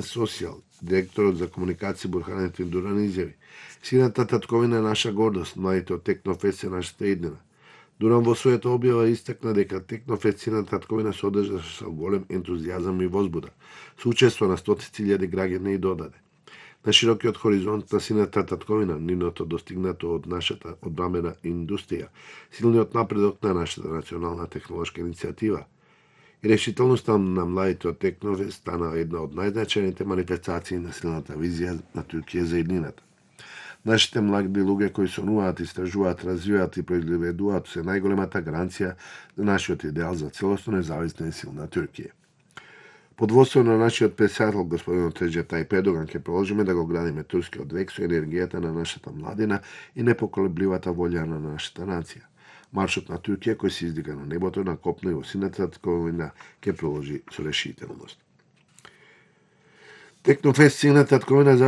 Социјал, директорот за комуникација Бурхан Дуран изјави: Сината татковина е наша гордост, младите од Технофест се нашата иднина. Дуран во својата објава истакна дека Технофест Сината татковина се одржа со голем ентузијазам и возбуда, со учество на стотици илјади граѓани и додаде. На широкиот хоризонт на Сината татковина, нивното достигнато од нашата одбранбена индустрија, силниот напредок на нашата национална технолошка иницијатива и решителноста на младите од Технофест стана една од најзначајните манифестации на силната визија на Туркија за иднината. Нашите млади луѓе кои сонуваат, истражуваат, развиваат и произведуваат се најголемата гаранција за нашиот идеал за целосно независна и силна Туркија. Под водство на нашиот председател господин Реджеп Тајип Ердоган ќе продолжиме да го градиме турскиот век со енергијата на нашата младина и непоколебливата волја на нашата нација. Маршот на Туркија кој се издига на небото, на копно и во Сината татковина ќе продолжи со решителност. Технофест Сината татковина